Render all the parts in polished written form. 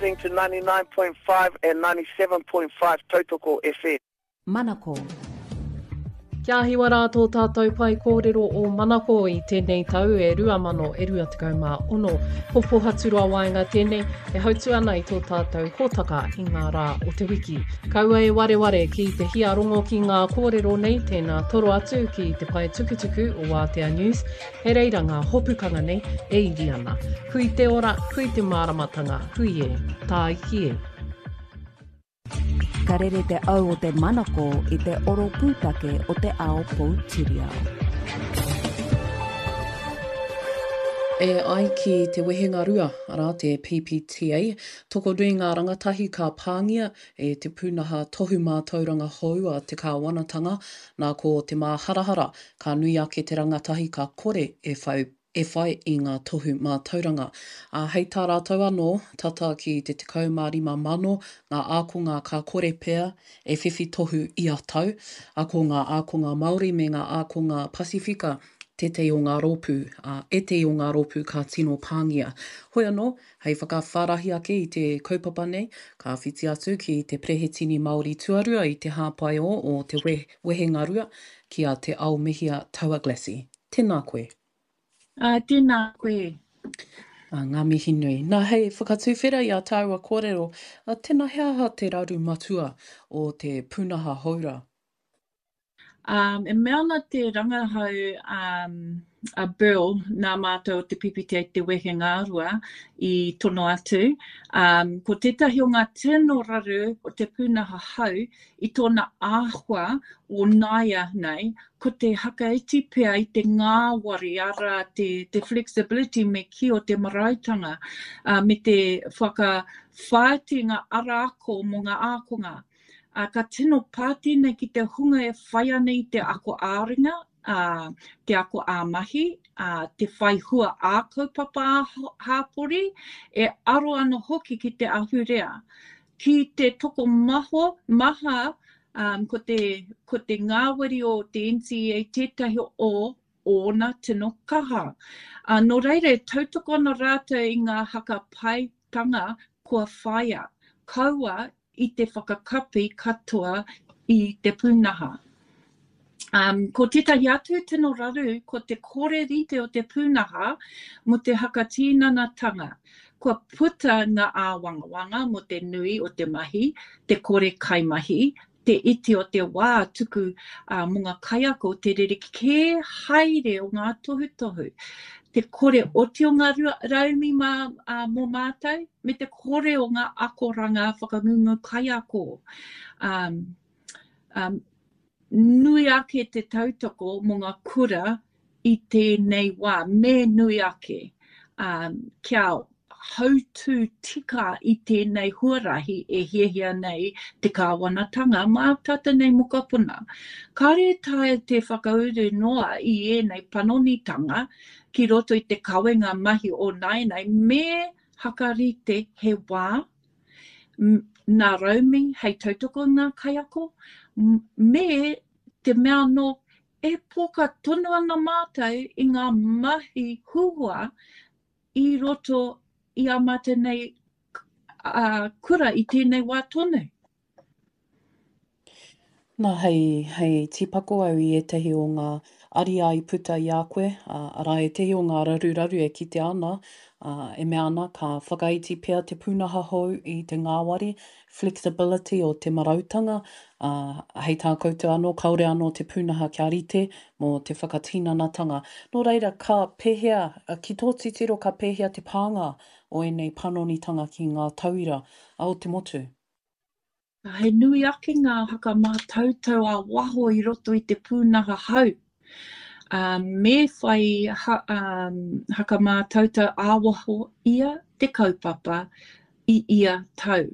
Listening to 99.5 and 97.5 Tautoko FM. Manako. Kia hiwa rā tō tātou pae kōrero o Manako i tēnei tau e 2026. Ko Pohaturoa Waenga tēnei e hautu ana i tō tātou hōtaka i ngā rā o te wiki. Kaua e wareware ki te hiarongo ki ngā kōrero nei, tēnā toro atu ki te pae tukutuku o Wātea News, He reira ngā hopukanga nei e iri ana. Hui te ora, hui te māramatanga, hui e, tāiki e. Ka rere te au o te manako i te oro pūtake o te ao poutiriao. E ai ki te wehengarua, arā te PPTA, tokonui ngā rangatahi ka pāngia e te pūnaha tohu mātauranga hou a te kāwanatanga, nā ko te māharahara Ka nui ake te rangatahi ka kore e whai e whai i ngā tohu mātauranga. Ā, hei tā rātou anō, tata ki te 15,000 ngā ākonga ka kore pea e whiwhi tohu ia tau, ā, ko ngā ākonga Māori me ngā ākonga Pasifika tētehi o ngā rōpū, ā, ētehi o ngā rōpū ka tino pāngia. Hoi anō, hei whakawhārahi ake i te kaupapa nei, ka whiti atu ki te Perehetini Māori Tuarua i te hāpai-o o te wehengarua, Ki a Te Aomihia Tauaglassie. Tēnā koe. Ā, tēnā koe. Ā, ngā mihi nui. Nā, hei whakatuwhera i ā tāua kōrero, ā, tēnā he aha te raru matua o te pūnaha hou rā? Ā, e mea ana te rangahau um, a Bill, nā mātou o te PPTA Te Wehengarua i tono atu, um, ko tētahi o ngā tino raru o te pūnaha hou i tōna āhua o nāianei, ko te hakaiti pea i te ngāwari, arā, te, te flexibility me kī o te marautanga, ā, me te whakawhāiti ngā ara ako mō ngā ākonga. Ā, ka tino pā tēnei ki te hunga e whai ana i te ako ā-ringa, ā, te ako ā-mahi, ā, te whai hua ā-kaupapa ā-hāpori, e aro ana hoki ki te ahurea. Ki te tokomaho, maha, um, ko te, ko te ngāwari o te NCEA tētahi o ōna tino kaha. Uh, nō reira, e tautoko ana rātou i ngā hakapaitanga kua whaia, kaua i te whakakapi katoa i te pūnaha. Um, ko tētahi atu tino raru, ko te kore rite o te pūnaha mō te hakatīnanatanga. Kua puta ngā āwangawanga mō te nui o te mahi, te kore kaimahi, te iti o te wā tuku uh, mō ngā kaiako, te rerekē haere o ngā tohutohu, te kore oti o ngā raumi mā, uh, mō mātou, me te kore o ngā akoranga whakangungu kaiako. Um, um, nui ake te tautoko mō ngā kura i tēnei wā, me nui ake, um, kia hautū tika i tēnei huarahi e hiahia nei te kāwanatanga mā tātou nei mokopuna. Kāore e taea te whakauru noa i ēnei panonitanga ki roto i te kawenga mahi o nāianei me hakarite he wā Nā Raumi hei tautoko i ngā kaiako, me te mea anō, e poka tonu ana mātou i ngā mahi huhua i roto i ā mātou nei kura i tēnei wā tonu. Nā, hei, hei tīpako au i ētahi o ngā ariā i puta i a koe, ā, arā ētahi o ngā raruraru e kitea ana, ā, e mea ana ka whakaiti pea te pūnaha hou i te ngāwari, flexibility, o te marautanga, ā, hei tā koutou anō, kāore anō te pūnaha kia rite mō te whakatinanatanga. Nō reira, ka pēhea, ki tō titiro ka pēhea te pānga o ēnei panonitanga ki ngā tauira o te motu? He nui ake ngā whakamātautau ā-waho i roto i te pūnaha hau. Me whai whakamātautau ā-waho ia te kaupapa i ia tau.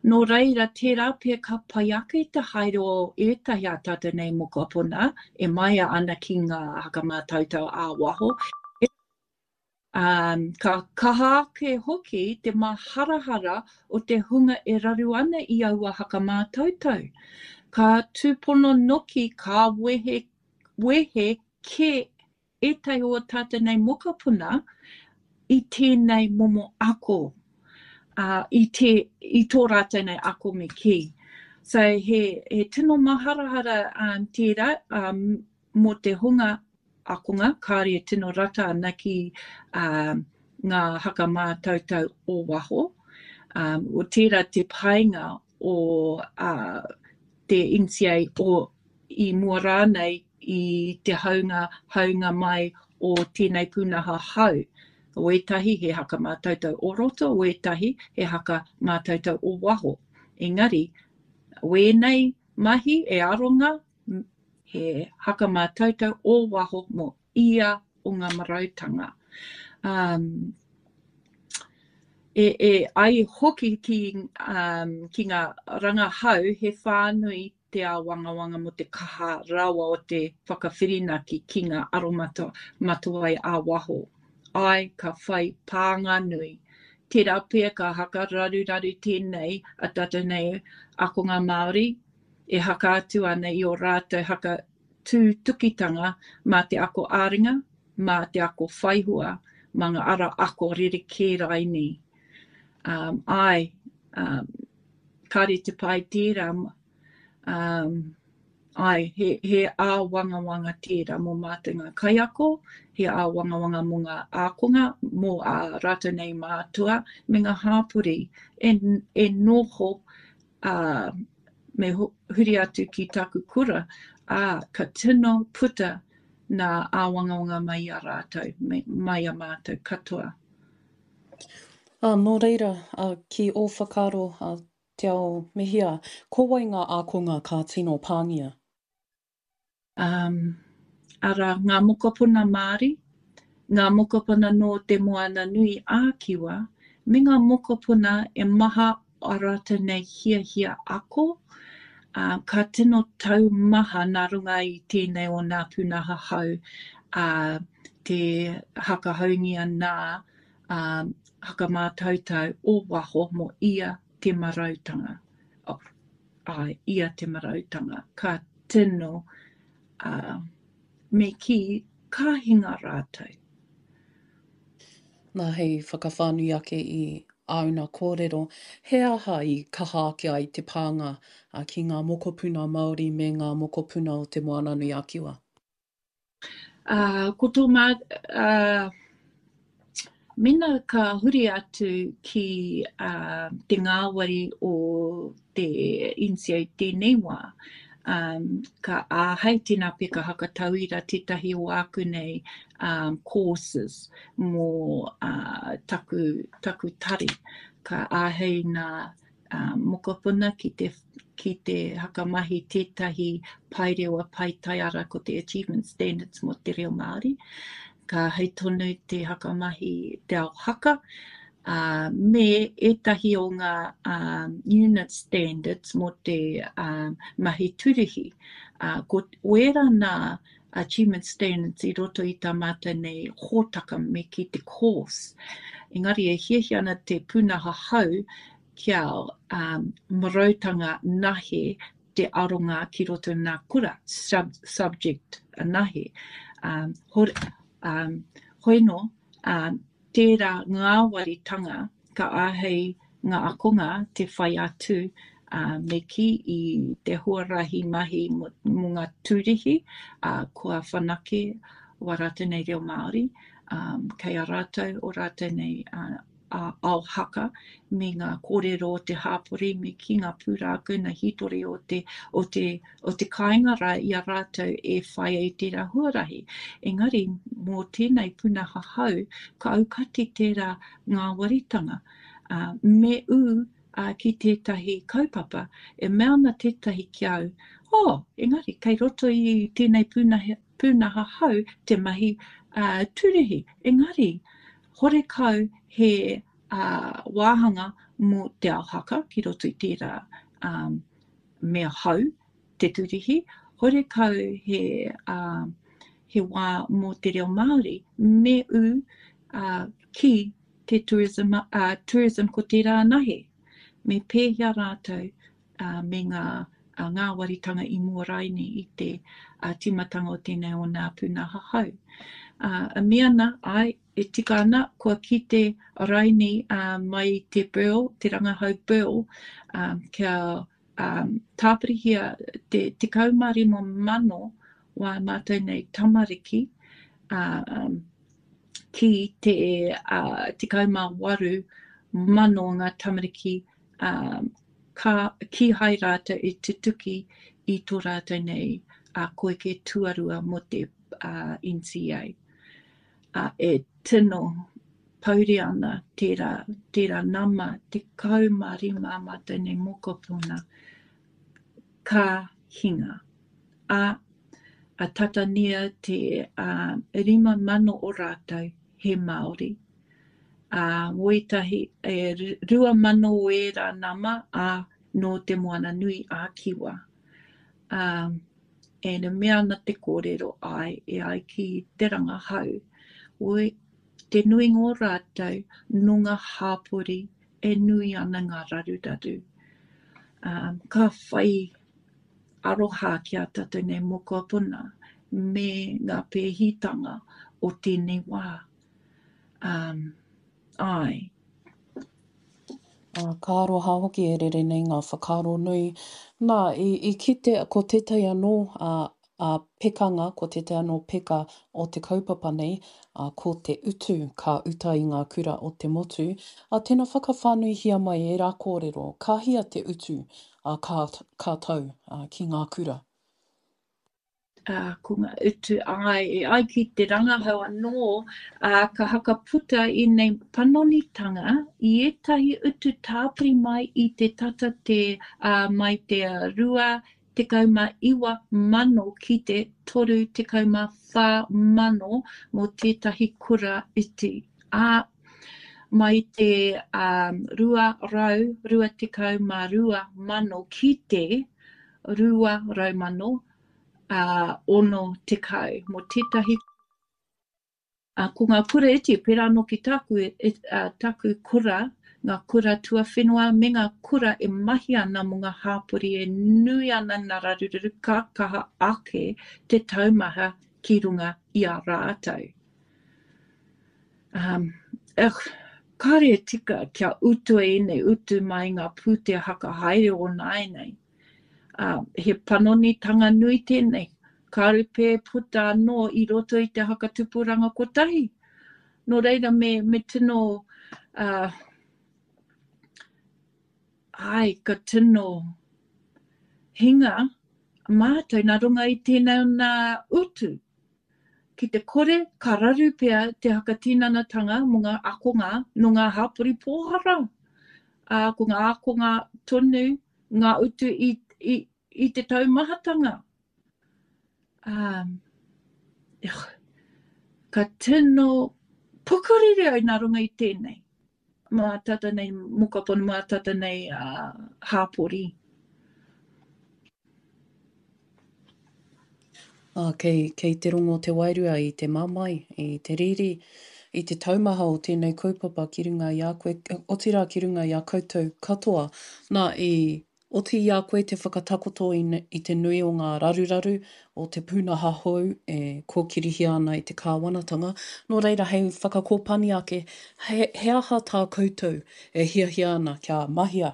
Nō reira, tērā pea ka pai ake te haere o ētahi ā tātou nei mokopuna e māia ana ki ngā whakamātautau ā-waho, Ā, ka kaha ake hoki te māharahara o te hunga e raru ana i aua hakamātautau. Ka tūpono noki ka wehe, wehe kē ētahi o ā tātou nei mokopuna i tēnei momo ako. uh, i, te, i tō rātou nei ako me kī. So he, he tino maharahara um, tērā um, mō te hunga akonga, kāre e tino rata ana ki um, ngā haka mātautau o waho. Um, o tērā te painga o uh, te NCA o i mua rānei i te haunga, haunga mai o tēnei pūnaha hau. O ētahi he haka mātautau o roto, o ētahi he haka mātautau o waho. Engari, wēnei mahi e aronga he haka mātautau o waho mō ia o ngā marautanga. Um, e, e ai hoki ki, um, ki ngā rangahau he whānui te āwangawanga mō te kaha rawa o te whakawhirinaki ki ngā aromatawai ā-waho. Āe, ka whai pānga nui. Tērā pea ka haka raruraru tēnei a tātou nei ākonga Māori e haka atu ana i ō rātou haka tūtukitanga mā te ako ā-ringa, mā te ako whaihua, mā ngā ara ako rerekē raini. Um, āe, um, kāre te pai tērā, um, āe, he, he āwangawanga tērā mō mātou ngā kaiako, he āwangawanga mō ngā ākonga, mō ā rātou nei mātua, me ngā hāpori e, e noho ā, me huri atu ki taku kura, ā, ka tino puta nā āwangawanga mai i a rātou, mai a mātou katoa. Ā, nō reira, ā, ki ō whakaaro, ā, Te Ao Mihia, ko wai ngā ākonga ka tino pāngia? Um, arā, ngā mokopuna Māori, ngā mokopuna nō Te Moana Nui a Kiwa, me ngā mokopuna e maha a rātou nei hiahia ako, ā, ka tino taumaha nā runga i tēnei o nā pūnaha hau, ā, te hakahaungia nā, ā, hakamātautau o waho mō ia te marautanga. Oh. Āe, ia te marautanga, ka tino, ā, me kī, ka hinga rātou. Nā, hei whakawhānui ake i āu nā kōrero, he aha i kaha ake ai te pānga ki ngā mokopuna Māori me ngā mokopuna o Te Moananui-a-Kiwa? Ā, ko tō mā, ā, mēnā ka huri atu ki, ā, te ngāwari o te NCA tēnei wā, ā, ka āhei tēnā pea ka hakatauira tētahi o āku nei, ā, courses mō, ā, taku, taku tari. Ka āhei nā mokopuna ki te, ki te hakamahi tētahi paerewa paetaiara ko te Achievement Standards mō te reo Māori. Ka hei tonu te hakamahi te ao haka, ā, me ētahi o ngā um, unit standards mō te um, mahi turihi. Ā, ko wērā nā Achievement Standards i roto i tā mātou nei hōtaka me ki te course. Engari e hiahia ana te pūnaha hau kia um, marautanga nahe te aronga ki roto nā kura, sub, subject nahe. Um, hore, um, hoi no, um, tērā ngāwaritanga ka āhei ngā ākonga te whai atu, ā, me kī i te huarahi mahi mō, mō ngā tūrihi, ā, kua whanake wā rātou nei reo Māori, ā, kei a rātou o rātou nei ā, ā, ao haka me ngā kōrero o te hāpori me kī ngā pūrākau, ngā hītori o te, o te, o te kāinga rā i a rātou e whai ai tērā huarahi. Engari, mō tēnei pūnaha hau, ka aukati tērā ngāwaritanga, ā, me ū ki tētahi kaupapa. E mea ana tētahi ki au, Oh, engari, kei roto i tēnei pūnaha, pūnaha hau te mahi uh, tūrihi. Engari, horekau he uh, wāhanga mō te ao haka ki roto i tērā um, mea hau, te tūrihi, horekau he, uh, he wā mō te reo Māori, me ū uh, ki te tourism, uh, tourism ko tērā anahe. Me pēhea rātou uh, me ngā uh, ngāwaritanga i mua raini i te uh, tīmatanga o tēnei o nā pūnaha hau. Uh, a mea ana, ai, e tika ana, kua kite raini mai i te Burl, te rangahau Burl, kia tāpirihia te 15,000 wā mātou nei tamariki ki te 18,000 ngā tamariki ka, kīhai rātou i tutuki i tō rātou nei koeke tuarua mō te NCEA. E tino pouri ana tērā, tērā nama 15 ā mātou nei mokopuna ka hinga. Ā, a tata nia te 5,000 o rātou he Māori. Ā, wētahi, e 2,000 o ērā nama, ā, nō Te Moana Nui a Kiwa. Ā, e mea ana te kōrero, āe, e ai ki te rangahau, oi, te nuinga o rātou nō ngā hāpori e nui ana ngā raruraru. Ā, ka whai aroha ki a tātou nei mokopuna me ngā pēhitanga o tēnei wā. Ā, āe. Ā, ka aroha hoki e rere nei ngā whakaaro nui. Nā, i, i kite, ko tētahi anō, ā, ā, pekanga, ko tētahi anō peka o te kaupapa nei, ā, ko te utu ka uta i ngā kura o te motu. Ā, tēnā whakawhānuihia mai ērā kōrero, ka hia te utu, ā, ka, ka tau, ā, ki ngā kura? Ā, ko ngā utu, āe, e ai ki te rangahau anō, ā, ka hakaputa ēnei panonitanga i ētahi utu tāpiri mai i te tata te, ā, mai te 29,000 ki te 34,000 mō tētahi kura iti, ā, mai te, ā, 222,000 ki te 200,000 ā, 60 mō tētahi, ā, ko ngā kura iti, pērā anō ki tāku, e, ā, tāku kura, ngā kura tuawhenua me ngā kura e mahi ana mō ngā hāpori e nui ana ngā raruraru ka kaha ake te taumaha ki runga i a rātou. Um, ugh, kāre e tika kia utua ēnei utu mai ngā pūtea hakahaere o nāianei. Ā, he panonitanga nui tēnei. Kāore pea e puta anō i roto i te hakatupuranga kotahi. Nō reira me, me tino, ā, āe, ka tino hinga mātou nā runga i tēnei nā utu. Ki te kore, ka raru pea te hakatinanatanga mō ngā akonga nō ngā hapori pōhara. Ā, ko ngā ākonga tonu ngā utu i, i, i te taumahatanga. Ā, ka tino pukuriri au nā runga i tēnei. Mā tata nei mokopuna, mā tata nei uh, hāpori. Ā, kei, kei te rongo te wairua i te mamae, i te riri, i te taumaha o tēnei kaupapa ki runga i a koe, otirā ki runga i a koutou katoa. Nā, i oti i a koe te whakatakoto i, i te nui o ngā raruraru o te pūnaha hou e kōkirihia ana e te kāwanatanga. Nō reira, hei whakakōpani ake, he, he aha tā koutou e hiahia ana kia mahia,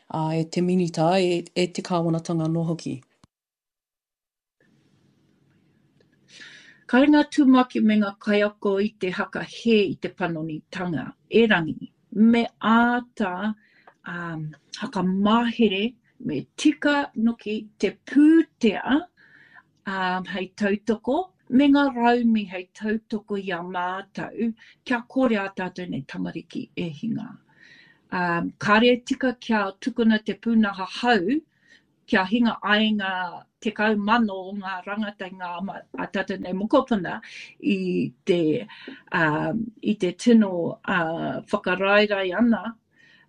ā, e te Minita, e, e te kāwanatanga anō hoki? Kāre ngā tumuaki me ngā kaiako i te haka hē i te panonitanga, erangi, me āta um, hakamahere, me tika noki te pūtea um, hei tautoko, me ngā raumi hei tautoko i a mātou, kia kore ā tātou nei tamariki e hinga. Um, kāre e tika kia tukuna te pūnaha hau kia hinga ai ngā 10,000 o ngā rangata ngā a tātou nei mokopuna i te, uh, i te tino uh, whakaraerae ana,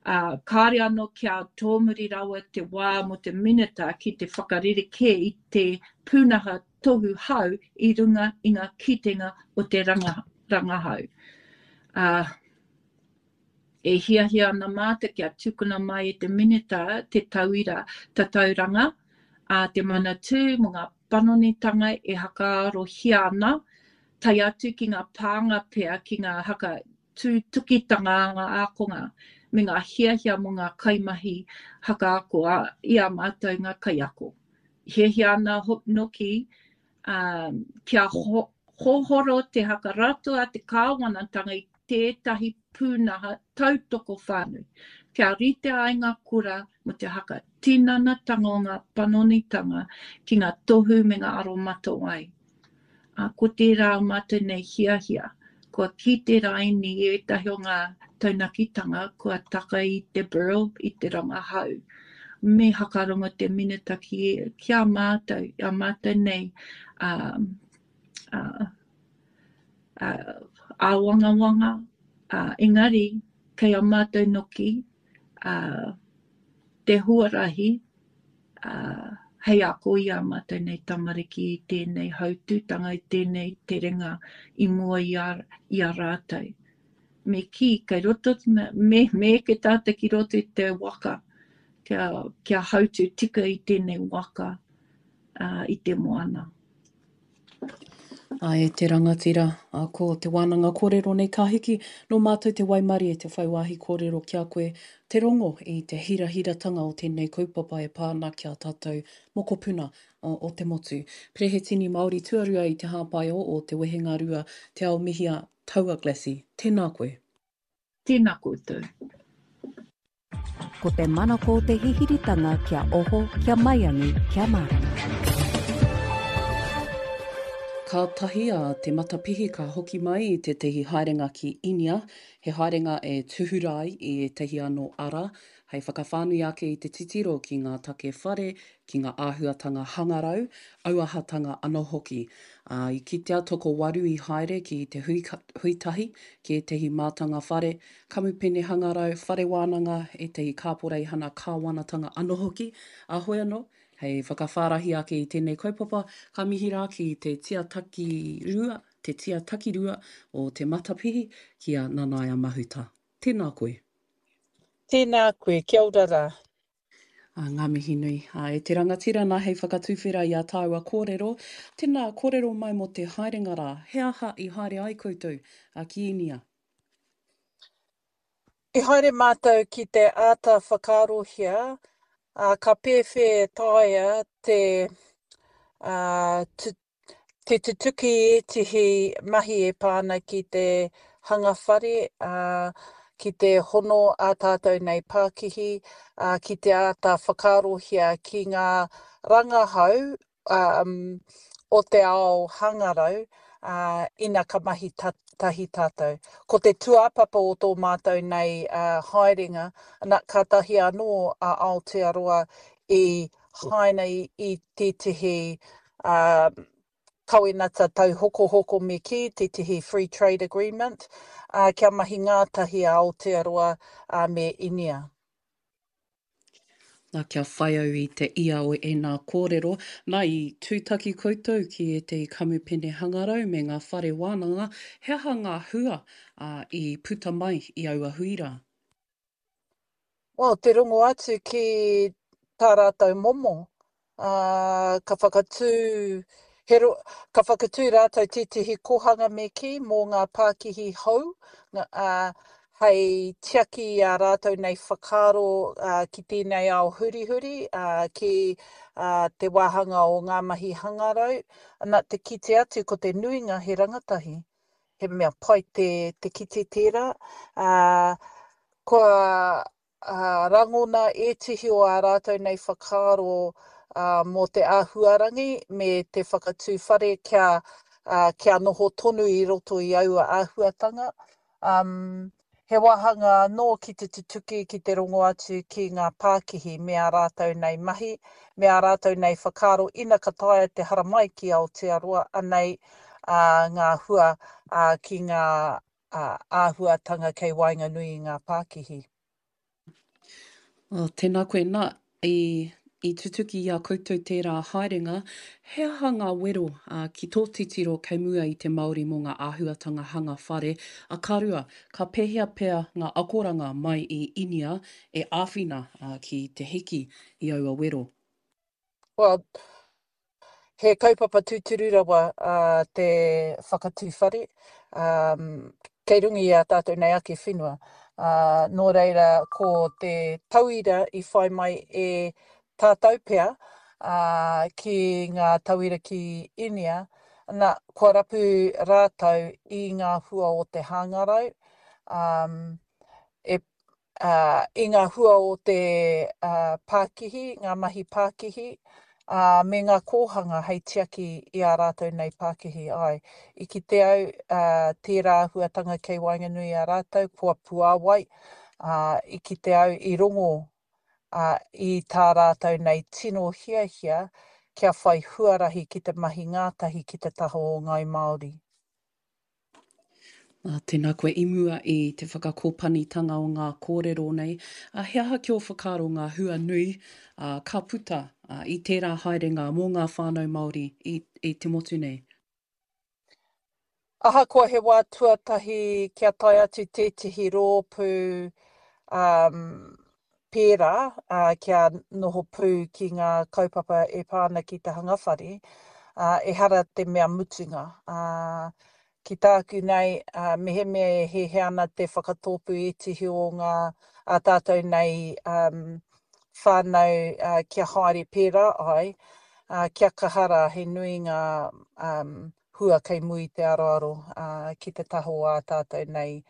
uh, kāre anō kia tōmuri rawa te wā mō te minita ki te whakarerekē i te pūnaha tohu hau i runga i ngā kitenga o te ranga, rangahau. Uh, E hiahia ana mātou kia tukuna mai e te Minita te tauira tatauranga a te Manatū mō ngā panonitanga e hakaarohia ana. Tae atu ki ngā pānga pea ki ngā haka tūtukitanga a ngā ākonga me ngā hiahia mō ngā kaimahi hakaako a, i a mātou ngā kaiako. Hiahia ana noki um, kia ho, hohoro te hakarato a te kāwanatanga i tētahi pūnaha tautoko whānui, kia rite ai ngā kura mō te haka tinanatanga o ngā panonitanga ki ngā tohu me ngā aromatawai. Ā, ko tērā o mātou nei hiahia, kua kite raini ētahi o ngā taunakitanga kua taka i te BIRL, i te rangahau. Me hakarongo te Minita ki, ki a mātou, i a mātou nei, ā, ā, ā, āwangawanga, ā, engari, kei a mātou noki, ā, te huarahi, ā, hei ako i ā mātou nei tamariki i tēnei hautūtanga, i tēnei terenga i mua i a, i a rātou. Me kī, kei roto, me, me eke tātou ki roto i te waka, kia, kia hautū tika i tēnei waka, ā, i te moana. Ā, e te rangatira, ā, ko te wānanga kōrero nei ka hiki, nō mātou te waimarie te whai wāhi kōrero ki a koe, te rongo i te hirahiratanga o tēnei kaupapa e pā ana ki a tātou mokopuna o te motu. Perehetini Māori tuarua i te hāpai o o Te Wehengarua, Te Ao Mihia, Taua Glassy, tēnā koe. Tēnā koutou. Ko te manako o te hihiritanga kia oho, kia maiangi, kia mārama. Kātahi a Te Matapihi ka hoki mai i tētahi haerenga ki Inia, he haerenga e tūhura ai i ētahi anō ara hei whakawhānui ake i te titiro ki ngā take whare, ki ngā āhuatanga hangarau, auahatanga anō hoki. Ā, i kitea tokowaru i haere ki te hui, hui tahi ki ētahi mātanga whare, kamupene hangarau, whare wānanga, ētahi kāporeihana kāwanatanga anō hoki, ā, hoi anō, hei whakawhārahi ake i tēnei kaupapa, ka mihi rā ki te tia takirua, te tia takirua o Te Matapihi, ki a Nanaia Mahuta. Tēnā koe. Tēnā koe, kia ora rā. Ā, ngā mihi nui. Ā, e te rangatira nā hei whakatuwhera i ā tāua kōrero, tēnā, kōrero mai mō te haerenga rā, he aha i haere ai koutou, ā, ki Īnia? I haere mātou ki te āta whakaarohia, ā, ka pēwhea e taea te, ā, te tutuki ētehi mahi e pā ana ki te hanga whare, ā, ki te hono ā tātou nei pākihi, ā, ki te āta whakaarohia ki ngā rangahau, ā, o te ao hangarau, ā, ina ka mahi tahi tātou. Ko te tūāpapa o tō mātou nei haerenga, ana, kātahi anō a Aotearoa i haina i tētehi ā, kawenata tauhokohoko me kī, tētehi free trade agreement, ā, kia mahi ngātahi a Aotearoa ā, me Inia. Nā, kia whai au i te ia o ēnā kōrero, nā, i tūtaki koutou ki ētehi kamupene hangarau me ngā whare wānanga, he aha ngā hua, ā, i puta mai i aua hui rā? Well, te rongo atu ki tā rātou momo, ā, ka whakatū, he ro, ka whakatū rātou tētehi kohanga me kī mō ngā pākihi hou, ā, hei tiaki i ā rātou nei whakaaro, ā, ki tēnei ao hurihuri, ā, ki, ā, te wāhanga o ngā mahi hangarau. Ana, te kite atu ko te nuinga he rangatahi. He mea pai te, te kite tērā. Ā, kua rangona ētehi o ā rātou nei whakaaro mō te āhuarangi me te whakatū whare kia, kia noho tonu i roto i aua āhuatanga. He wāhanga anō ki te tutuki, ki te rongo atu ki ngā pākihi me ā rātou nei mahi, me ā rātou nei whakaaro ina ka taea te haramai ki Aotearoa, anei ngā hua ki ngā āhuatanga kei waenganui i ngā pākihi. Oh, tēnā koe. Nā, i, i tutuki i a koutou tērā haerenga, he aha ngā wero ā, ki tō titiro kei mua i te Māori mō ngā āhuatanga hanga whare, a ka rua, ka pēhea pea ngā akoranga mai i Inia e āwhina ā, ki te hiki i aua wero? Well, He kaupapa tūturu rawa te whakatū whare, kei runga i ā tātou nei ake whenua. Nō reira, ko te tauira i whai mai e tātou pea ki ngā tauira ki Inia, na, kua rapu rātou i ngā hua o te hangarau, e ā, i ngā hua o te pākihi, ngā mahi pākihi, ā, me ngā kōhanga hei tiaki i ā rātou nei pākihi. Āe, i kite au, ā, tērā āhuatanga kei waenganui i a rātou, kua puāwai, ā, i kite au, i rongo, ā, i tā rātou nei tino hiahia kia whai huarahi ki te mahi ngātahi ki te taha o Ngāi Māori. Ā, tēnā koe i mua i te whakakōpanitanga o ngā kōrero nei, ā, he aha ki ō whakaaro ngā hua nui, ā, ka puta, ā, i tērā haerenga mō ngā whānau Māori i, i te motu nei? Ahakoa he wā tuatahi kia tae atu tētehi rōpū, ā, pērā, ā, kia noho pū ki ngā kaupapa e pā ana ki te hanga whare, ā, ehara te mea mutunga. Ā, ki tāku nei, ā, mehemea e hiahia ana te whakatōpū ētehi o ngā, ā tātou nei, ā, whānau, ā, kia haere pērā ai, ā, kia kaha rā, he nui ngā, ā, hua kei mua i te aroaro, ā, ki te taha o ā tātou nei,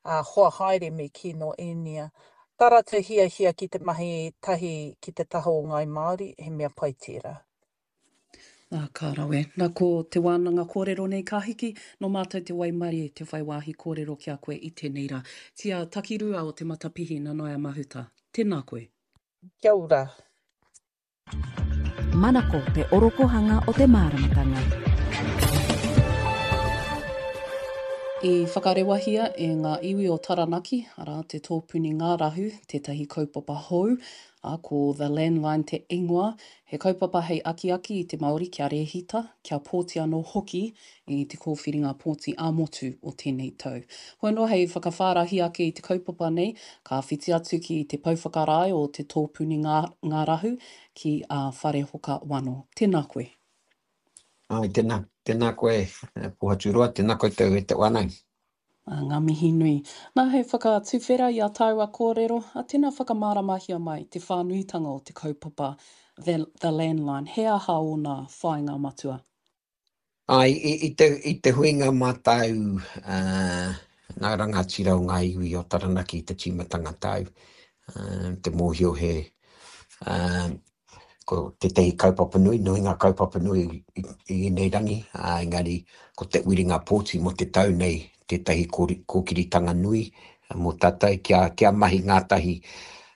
ā, hoa haere me kī nō Īnia. Tā rātou hiahia ki te mahi tahi ki te taha o Ngāi Māori, he mea pai tērā. Nā, ka rawe. Nā, ko te wānanga kōrero nei ka hiki, nō mātou te waimarie te whai wāhi kōrero ki a koe i tēnei rā. Tia Takirua o Te Matapihi Nanaia Mahuta, tēnā koe. Kia ora. Manako te orokohanga o te māramatanga. I whakarewahia e ngā iwi o Taranaki, arā, te Tōpuni Ngārahu, tētahi kaupapa hou, ā, ko The Landline te ingoa, he kaupapa hei akiaki i te Māori kia rēhita, kia pōti anō hoki i te kōwhiringa pōti ā-motu o tēnei tau. Hoi anō hei whakawhārahi ake i te kaupapa nei, ka whiti atu ki te pouwhakarae o te Tōpuni Ngārahu, ki a Wharehoka Wano. Tēnā koe. Āe, tēnā, tēnā koe Pohaturoa, tēnā koutou e te whānau. Ā, ngā mihi nui. Nā, hei whakatuwhera i a tāua kōrero, ā, tēnā whakamāramahia mai te whānuitanga o te kaupapa The, The Landline, he aha ōna whāinga matua? Āe, i te, i te huinga mātau ngā rangatira o ngā iwi o Taranaki i te tīmatanga tau, te mōhio he, ko tētahi kaupapa nui, nui ngā kaupapa nui i, i ēnei rangi, ā, engari ko te uiringa pōti mō te tau nei tētahi kōkiritanga nui mō tātou kia, kia mahi ngātahi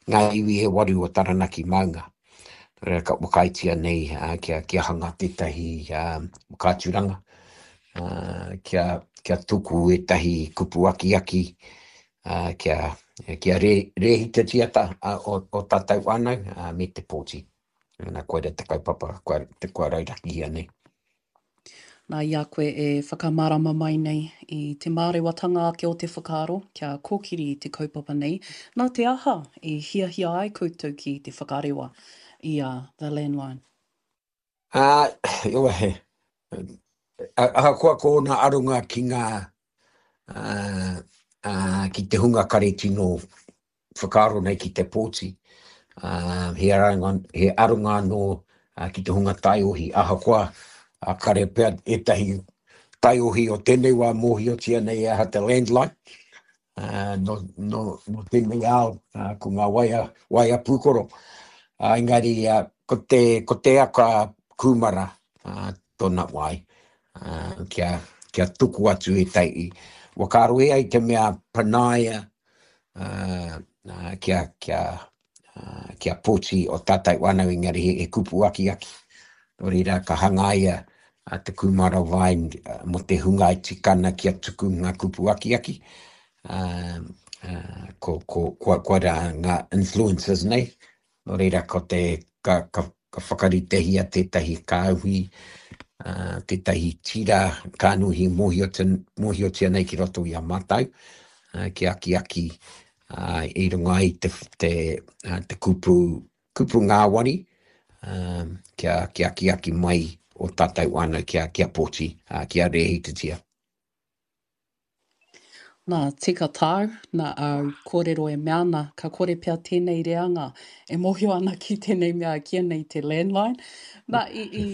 ngā iwi e waru o Taranaki maunga. Nō reira ka whakaaetia nei kia, kia hanga tētahi whakaaturanga, kia, kia tuku ētahi kupu akiaki, kia, kia rē, rēhitatia ta, o, o tātou whānau me te pōti. Nā, koira te kaupapa kua, kua raurakihia nei. Nā, i a koe e whakamārama mai nei i te mārewatanga ake o te whakaaro kia kōkiri i te kaupapa nei, nā te aha i hiahia ai koutou ki te whakarewa i a The Landline? Ā, he, ahakoa ko ōna aronga ki ngā, ā, ā, ki te hunga kare tino whakaaro nei ki te pōti, ā, he aronga, he aronga anō ki te hunga taiohi, ahakoa kare pea ētahi taiohi o tēnei wā mōhiotia nei e aha te landline, ā, nō, nō, nō tēnei ao, ā, ko ngā waea, waea pūkoro. Ā, engari, ā, ko te, ko te aka kūmara, ā, tōna wai, ā, kia, kia tuku atu ētahi whakaaro e ai te mea panaia, kia, kia, kia pōti o tātou whānau engari he, he kupu akiaki. Nō reira, ka hangaia te kūmara vine mō te hunga e tika ana kia tuku ngā kupu akiaki. Uh, uh, ko, ko, kua, kua rā ngā influencers nei, Nō reira, ko te, ka, ka, ka whakaritehia tētahi kāhui, uh, tētahi tira kānuhi mōhiotia, mōhiotia nei ki roto i a mātou, uh, ki akiaki uh, i runga i te, te, uh, te kupu, kupu ngāwari, uh, kia, kia akiaki mai o tātou whānau kia, kia pōti, ā, kia rēhitatia. Nā, tika tāu, nā āu kōrero e mea ana, ka kore pea tēnei reanga e mōhio ana ki tēnei mea e kīia nei te landline. Nā, i, i,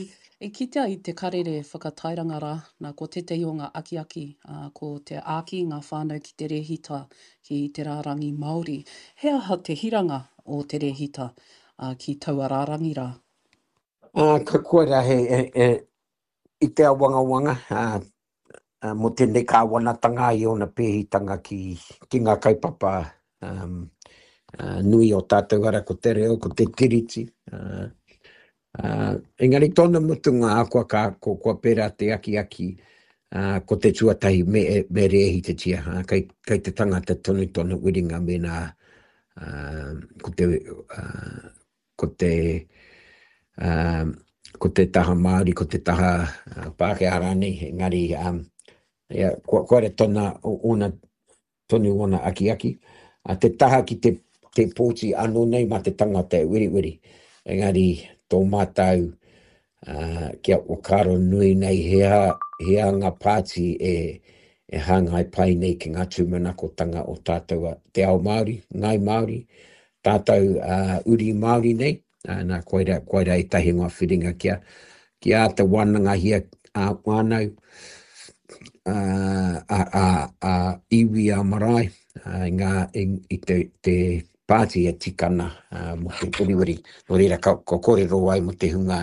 i kitea i te karere whakatairanga rā, nā, ko tētahi o ngā akiaki, ā, ko te āki i ngā whānau ki te rēhita ki te rārangi Māori. He aha te hiranga o te rēhita, ā, ki taua rārangi rā? Ā, ka koira he, he, he, i te awangawanga, ā, mō tēnei kāwanatanga i ōna pēhitanga ki, ki ngā kaupapa um, uh, nui o tātou ara ko te reo, ko te tiriti. Uh, uh, engari tōna mutunga ahakoa ka, ko, kua pērā te akiaki, uh, ko te tuatahi me, me rēhitatia, uh, kei, kei te tangata tonu tōna wiringa mēnā uh, ko te, uh, ko te, um, ko te taha Māori, ko te taha uh, Pākehā rānei, engari um, ia, kua, kua tona, ona, tonu ona akiaki. Uh, te taha ki te, te pōti anō nei mā te tangata e weriweri, engari tō mātou uh, kia whakaaro nui nei he aha, he aha ngā pāti e, e hāngai pai nei ki ngā tūmanakotanga o tātou te ao Māori, Ngāi Māori, tātou uh, uri Māori nei, uh, nā, koira, koira ētahi o ngā whiringa kia, kia āta wānangahia a whānau, a, a, a, a iwi a marae, uh, i, ngā, i, i te, te pāti e tika ana uh, mō te weriweri. Nō reira, ka, ka kōrero ai mō te hunga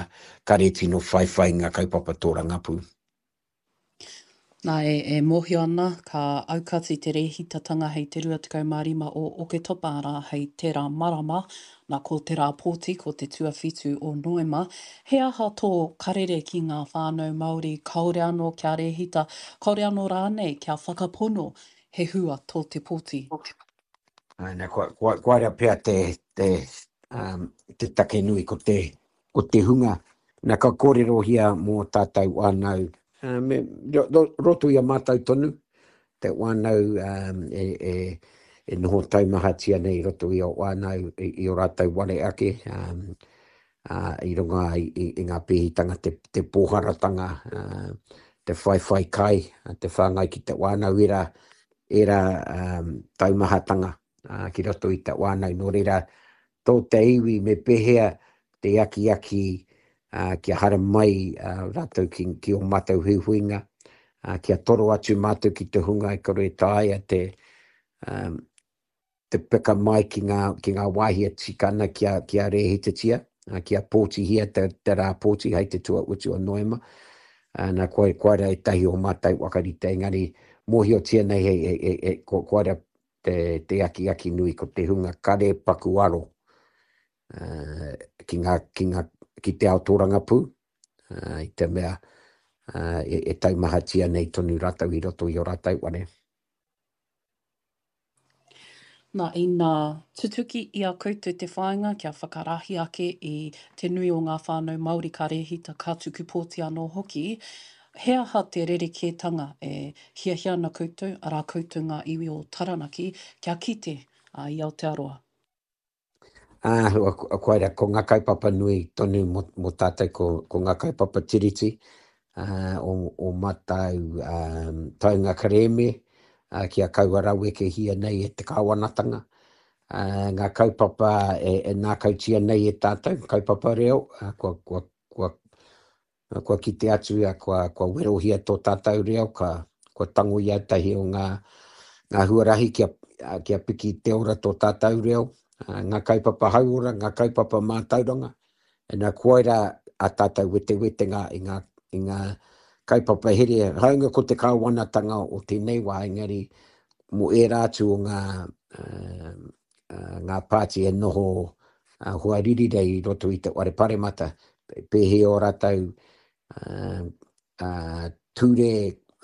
kare tino whaiwhai ngā kaupapa tōrangapū. Nā, e, e mōhio ana, ka aukati te rēhitatanga hei te 25 o Oketopa, arā, hei tērā marama, nā, ko te rā pōti, ko te tuawhitu o Noema. He aha tō karere ki ngā whānau Māori kāore anō kia rēhita, kāore anō rānei kia whakapono he hua tō te pōti? Āe, nā, kua, kua, koira pea te, te, um, te take nui ko te, ko te hunga, na ka kōrerohia mō tātou whānau, me, roto i a mātou tonu, te whānau e, e, e noho taumahatia nei i roto i o whānau, i, i o rātou ware ake, um, uh, i runga i, i, i ngā pēhitanga, te, te pōharatanga, uh, te whaiwhai kai, te whāngai ki te whānau, ērā, ērā um, taumahatanga uh, ki roto i te whānau. Nō reira, tō te iwi me pēhea te akiaki kia haramai rātou ki, ki ō mātou huihuinga, kia toro atu mātou ki te hunga e kore e taea te, um, te peka mai ki ngā, ki ngā wāhi e tika ana kia, kia rēhitatia, kia pōtihia te, te rā pōti hei te tuautu o Noema. Nā, koe, koira ētahi o mātou whakarite, engari mōhiotia nei he, he, he, he, ko, koira te, te akiaki nui ko te hunga kare paku aro uh, ki, ngā, ki, ngā, ki te ao tōrangapū, uh, i te mea uh, e, e taumahatia nei tonu rātou i roto i o rātou ware. Nā, ina tutuki i a koutou te whāinga kia whakarahi ake i te nui o ngā whānau Māori ka rēhita, ka tuku pōti anō hoki, He aha te rerekētanga e hiahia ana koutou, arā koutou ngā iwi o Taranaki, kia kite i Aotearoa? Ā, koira, ko ngā kaupapa nui tonu mō, mō tātou, ko, ko ngā kaupapa tiriti, ā, o, o mātou ā, taunga kerēme, ā, kia kaua rawekehia nei e te kāwanatanga, ā, ngā kaupapa e, e nākautia nei e tātou, kaupapa reo, ā, kua, kua, kua Kua kite atu ia, kua, kua werohia tō tātou reo, ka, kua tango i ētahi o ngā, ngā huarahi kia, kia piki te ora tō tātou reo, ngā kaupapa hauora, ngā kaupapa mātauranga. Ina koira a tātou wetewetenga i ngā, i ngā kaupapa here, hāunga ko te kāwanatanga o tēnei wā, engari mō ērā atu o ngā, uh, ngā pāti e noho hoariri nei i roto i te whare paremata, pēhea ō rātou ture